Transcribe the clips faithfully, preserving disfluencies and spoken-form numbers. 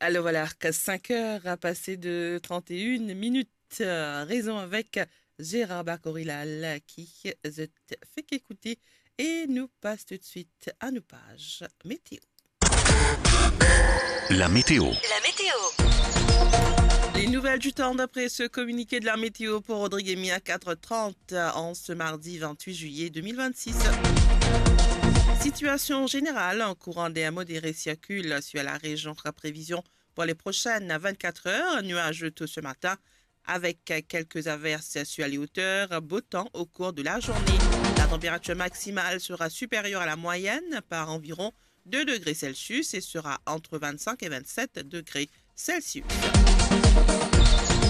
Alors voilà, cinq heures passées de trente et une minutes. Euh, raison avec Gérard Bakorilal ki zot fek ekoute e nou pas tout de suite à nos pages météo. La météo. La météo. Les nouvelles du temps d'après ce communiqué de la météo pour Rodrigue et Mia, quatre heures trente en ce mardi vingt-huit juillet deux mille vingt-six. Situation générale, un courant d'air modéré circule sur la région. Prévision pour les prochaines vingt-quatre heures, nuageux tôt ce matin avec quelques averses sur les hauteurs, beau temps au cours de la journée. La température maximale sera supérieure à la moyenne par environ deux degrés Celsius et sera entre vingt-cinq et vingt-sept degrés Celsius.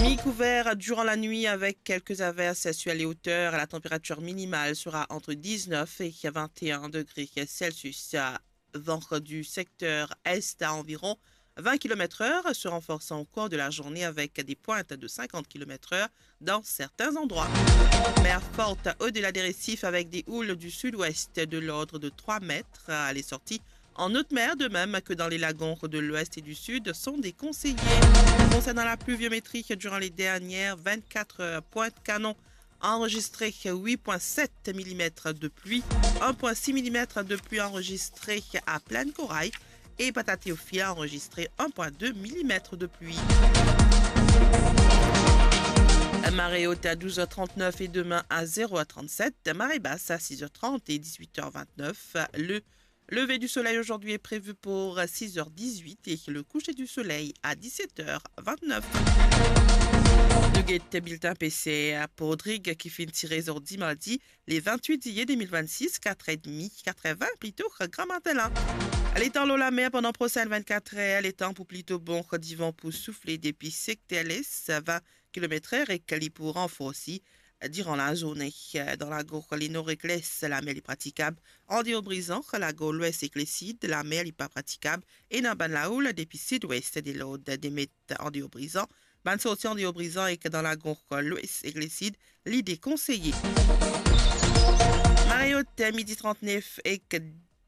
Mi-couvert durant la nuit avec quelques averses sur les hauteurs. La température minimale sera entre dix-neuf et vingt et un degrés Celsius. Vent du secteur est à environ vingt kilomètres heure, se renforçant au cours de la journée avec des pointes de cinquante kilomètres heure dans certains endroits. Mer forte au-delà des récifs avec des houles du sud-ouest de l'ordre de trois mètres. Les sorties en haute mer, de même que dans les lagons de l'ouest et du sud, sont déconseillées. Concernant la pluviométrie, durant les dernières vingt-quatre heures, Pointe-Canon a enregistré huit point sept millimètres de pluie, un point six millimètres de pluie enregistré à Plaine-Corail et Patatéofil a enregistré un point deux millimètres de pluie. Marée haute à douze heures trente-neuf et demain à zéro heure trente-sept. Marée basse à six heures trente et dix-huit heures vingt-neuf. Le lever du soleil aujourd'hui est prévu pour six heures dix-huit et le coucher du soleil à dix-sept heures vingt-neuf. Nou get bilten PCR pou Rodrig ki finn tire zordi mardi, le vingt-huit juillet deux mille vingt-six, quatre et demi, quatre-vingts plito gramatin la. Letan lor lamer pandan prosenn vingt-quatre er, letan pou plito bon divan pou soufle depi sekter les, vingt kilomètres er, ek li pou ranforsi diran lazourne. Dan Lagor, le nor ek les, lamer li pratikab andeor Brizan, Lagor Lwes ek Lesid, lamer li pa pratikab, ena bann laoul depi sidwes de lord de met andeor Brizan. Bann sorti andeor Brizan ek dan Lagor Lwes ek Lesid, li dekonseye. Marée haute, midi trente-neuf ek